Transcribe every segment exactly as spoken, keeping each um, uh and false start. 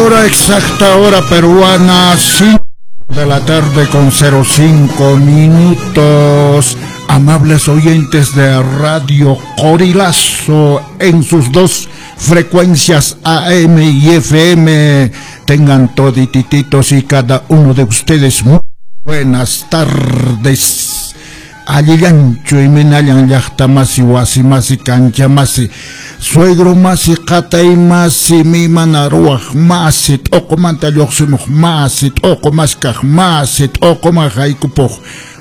Hora exacta, hora peruana, cinco de la tarde con cero cinco minutos. Amables oyentes de Radio Qorilazo en sus dos frecuencias A M y F M, tengan toditititos y cada uno de ustedes muy buenas tardes. Allillanchu iminallan llaqtamasi wasimasi kanchamasi suegro masi qatay masi mimana ruwaq masi t'uqumanta lluqsimuq masi t'uqu maskaq masi t'uquman haykupuq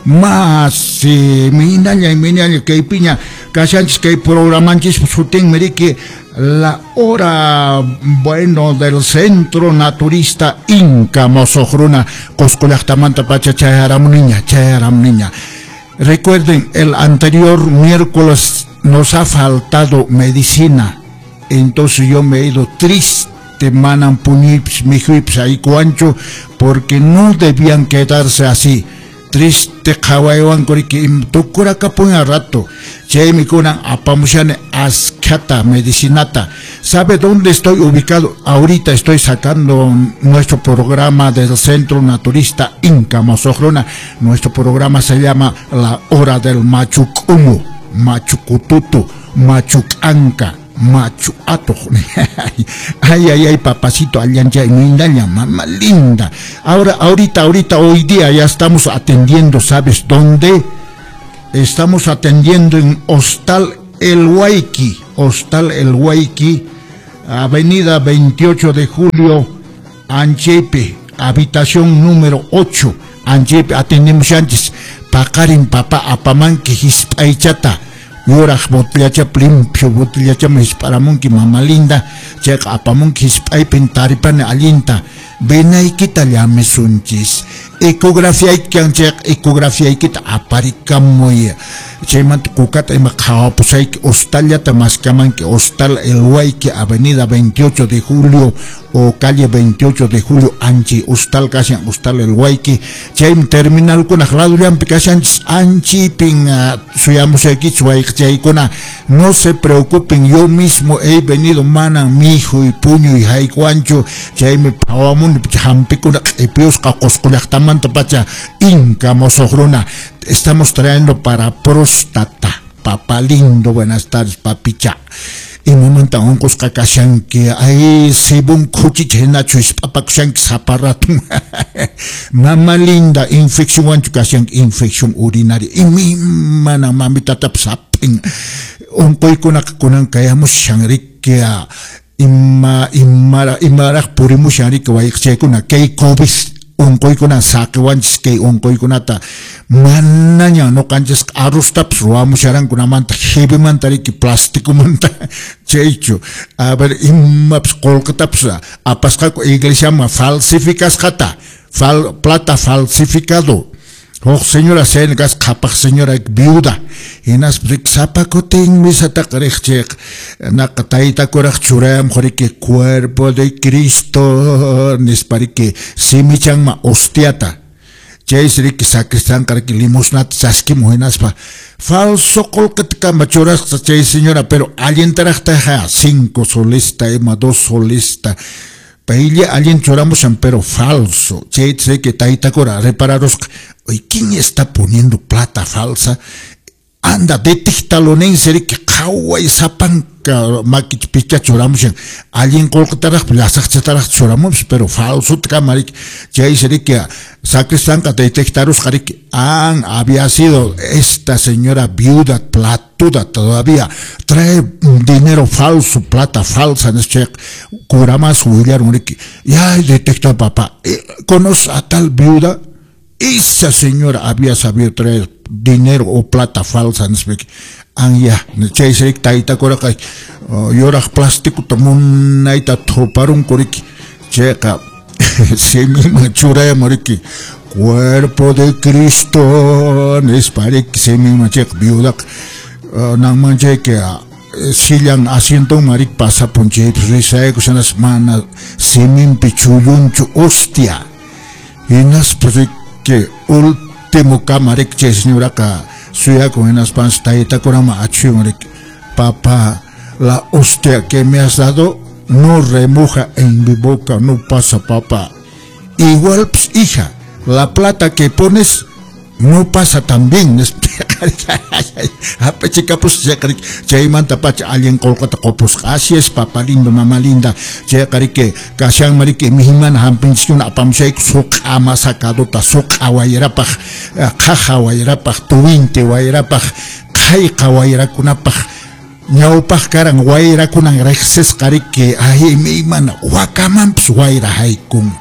masi minalla minalla kaypiña kashanchis kay programanchis sutinmi riki La Hora, bueno, del Centro Naturista Inca Mosoqruna Qosqo llaqtamanta pacha chayaramuniña chayaramuniña. Recuerden, el anterior miércoles nos ha faltado medicina, entonces yo me he ido triste, manan puñips, mijuips, ahí cuancho, porque no debían quedarse así. Triste qhawaywan kuriki tukurakapuña rato. Chaymi kunan apamushani askhata medicinata. ¿Sabe dónde estoy ubicado? Ahorita estoy sacando nuestro programa del Centro Naturista Inca Mosoqruna. Nuestro programa se llama La Hora del Machucumu, Machucututu, Machucanca, Machu Ato. Ay, ay, ay, papacito, allancha, mindaña, mamá linda. Ahora, ahorita, ahorita, hoy día ya estamos atendiendo, ¿sabes dónde? Estamos atendiendo en Hostal El Huayqui, Hostal El Huayqui, Avenida veintiocho de Julio, Anchepe, habitación número ocho, Anchepe, atendemos antes, paqarin papá, apamanki, hisp'aychata. Yuraq botellacha limpio botellacha hisp'aramunki mamá linda, chayqa apamunki hisp'aypin taripani allinta, venaykita llamisunchis, ecografiaykikan chayqa ecografiaykita aparikamuy, chaymanta kukata ima qhawapusayki hostallata maskamanki, Hostal El Huayqui, Avenida veintiocho de Julio o calle veintiocho de Julio, Anchi, hostal kashan, Hostal El Huayqui, chaymi terminalkunaq ladullanpi kashanchis, anchipin suyamusaykichis wayqichaykuna, no se preocupen, yo mismo he venido manan mijuy puñuy haykuanchu, chaymi phawamuni hampikuna q'ipiyusqa Qosqo llaqtamanta pacha Inca Mosoqruna. Estamos trayendo para próstata, papá lindo, buenas tardes, papicha. Imamanta unqusqa kashanki, ay sibun khuchicha hinachu hisp'apakushanki sapa ratun. Mamá linda, infección wanchu kashanki, infección urinaria. Imimana mamitatapas hap'in. Unquykunaqa kunan kayamushan riki, ima imara imaraq purimushan riki wayqichaykuna, kay COVID unquykunan saqiwanchis kay unquykunata manaña ñuqanchis arrostapas ruwamusharankunamanta jibimanta riki plasticomanta chaychu. A ver, imapas qullqitapas apasqaku iglesiaman falsificasqata, fal, plata falsificado. Huk señora chayna kasqa qhapaq señora viuda, hinaspa riki sapa kutin misataqa riq chayqa naqa taytakuraq churayamuq riki cuerpo de Cristo nispa riki simichanman hostiata, chaysi riki sacristanqa riki limosnata chaskimuq hinaspa falso qullqita kama churasqa chay señora, pero allintaraqtaqa cinco solista ima dos solista paylla allin churamushan, pero falso. Chayta riki taytakura repararusqa, oye, ¿quién está poniendo plata falsa? Anda, detéctalo ninsi riki qhaway sapanka makicha picha churamushan, allin qullqitaraq llasaqchataraq churamunpis, pero falsota kama riki. Chaysi riki sacristanqa detectarusqa riki, han había sido esta señora viuda platuda todavía, trae dinero falso, plata falsa, nispa cura más willaron riki, ya detectó papá, ¿conoce a tal viuda? Esa señora había sabido traer dinero o plata falsa, nispa anya, chaysi riki taytakuraqa yuraq plasticota munayta thuparunku riki, chayqa simiman churayamun riki cuerpo de Cristo nispa riki simiman chayqa viudaqa nanman chayqa sillan asientonman riki pasapun chaypis risaykus hinaspa mana siminpi chullunchu hostia, hinaspa riki último kama riki chay señoraqa suyakun hinaspansi taytakuraman achhuyan riki, papá, la hostia que me has dado no remoja en mi boca, no pasa, papá. Igual, pues, hija, la plata que pones no pasa también. Chaymanta pacha allin qullqata qupusqa. Así es, papá lindo, mamá linda. Chayqa riki kashanman riki mihimana hampinchiskuna apamushayku suq'a masakaduta, suq'a wayrapaq, qhaja wayrapaq, tuwinti wayrapaq, qhayqa wayrakunapaq. Ñawpaq karan wayrakunan riqsisqa riki ay imaymana wakamanpis wayra haykun.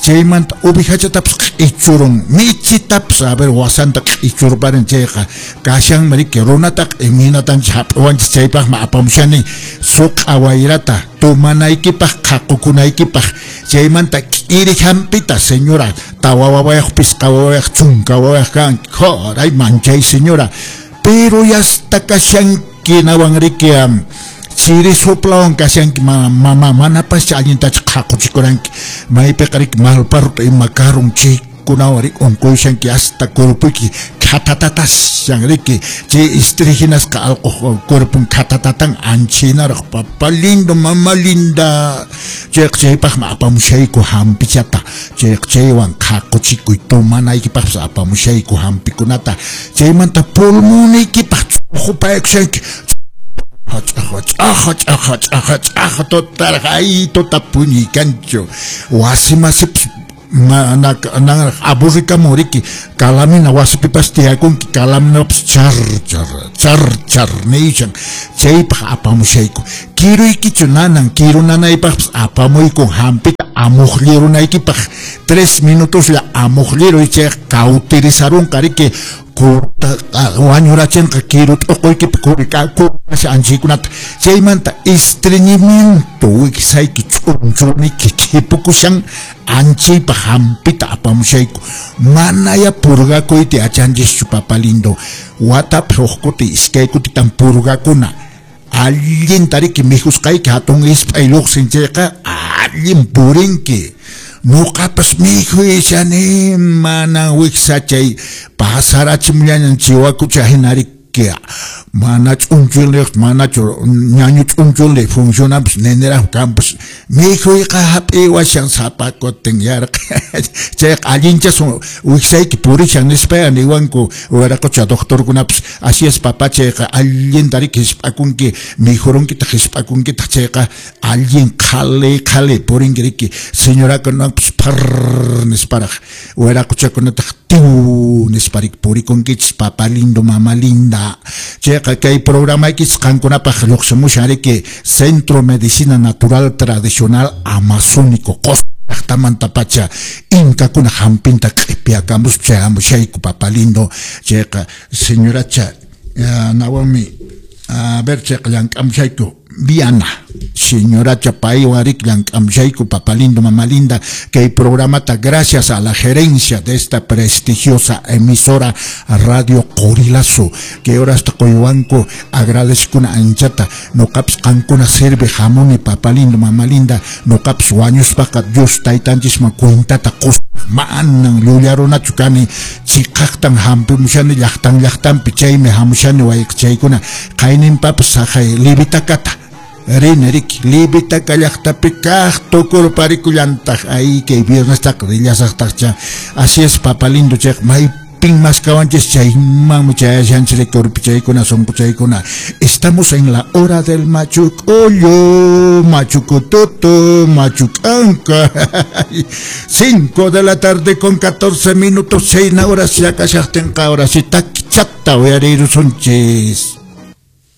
Chaymanta ovejachatapas q'ichurun, michitapas a ver wasanta q'ichurparin chayqa kashanman riki runataqa imaynatanchis hap'iwanchis chaypaqmi apamushani suq'a wayrata tomanaykipaq qhaqukunaykipaq. Chaymanta k'iri hampita señora tawa wawayaq pisqa wawayaq chunka wawayaq kanki joray manchay señora, pero ya hasta kashanki nawan riki chiri soplawan kashanki mama manapas allintachu qhaquchikuranki maypiqa riki malparruta ima karun chaykunawan riki unquyushanki hasta cuerpoyki khatatatashan riki chay istrijinasqa allquq cuerpon khatatatan anchinaraq papá lindo mama linda. Chayqa chaypaqmi apamushayku hampichata chayqa chaywan qhaquchikuy tomanaykipaqpas apamushayku hampikunata. Chaymanta pulmoniykipaq ch'uqupaykushanki ch'aqa ch'aqa ch'aqa ch'aqa ch'aqa total ay tota puñuykanchu wasi masipas mana aburrikamun riki kalamina wasipipas tiyakunki kalaminapas char char char char nishan chaypaq apamushayku kiruykichu nanan kiru nanaypaqpas apamuykun hampita amuqlirunaykipaq tres minutoslla amuqliruy chayqa cauterizarunqa riki wañurachinqa kiru t'uquykipi kurikasha anchaykunata. Chaymanta estreñimiento wiksayki ch'unchuniki khipukushan anchaypaq hampita apamushayku. Manaya purgakuyta yachanchischu papá lindo, watapi huk kuti iskay kutitan purgakuna allinta riki mikhusqayki hatun isp'ay lluqsin chayqa allin purinki. Ñuqapas mikhuyshani mana wiksachay pasarachimullañan chiwakucha hina riki mana ch'unchulniq manachu ñañu ch'unchulni funcionanpas neniraq kanpas mikhuyqa hap'iwashan sapa kutin yarqa chayqa allinchasun wiksayki purishan nispaya niwanku wiraqucha doctorkunapas. Así es papá, chayqa allinta riki hisp'akunki mikhurunkitaq hisp'akunkitaq chayqa allin qhali qhali purinki riki señorakunapas phar nisparaq wiraquchakunataq tiw nisparik purikunkichis papá lindo mamá linda. Chayqa kay programaykichis qankunapaq lluqsimushan riki Centro Medicina Natural Tradicional Amazónico Qosqo llaqtamanta pacha inkakuna hampinta q'ipiakamuspa chayamushayku papá lindo. Chayqa señoracha nawanmi a ver chayqa llank'amushayku Viana señoracha paywan riki llank'amushayku papá lindo mamá linda kay programata gracias a la gerencia de esta prestigiosa emisora Radio Qorilazo que horasta quywanku agradezkuna anchata nuqapas qankuna sirve hamuni papá lindo mamá linda nuqapas wañuspaqa Dios taytanchisman cuentata qusaq manan llullarunachu kani chiqaqtan hampimushani llaqtan llaqtanpi chaymi hamushani wayqchaykuna qayninpapas saqay libitakata rini riki libitaka llaqtapi kaq tukurparikullantaq ay kay viernestaqa rillasaqtaqcha. Así es papá lindo, chayqa maypin maskawanchis chaymanmi chayashanchis riki urpichaykuna sunquchaykuna. Estamos en la hora del machucollo, machucototo, machucanca. Cinco de la tarde con catorce minutos, seis horas ya kashaqtinqa ahora sí takichata uyarirusunchis.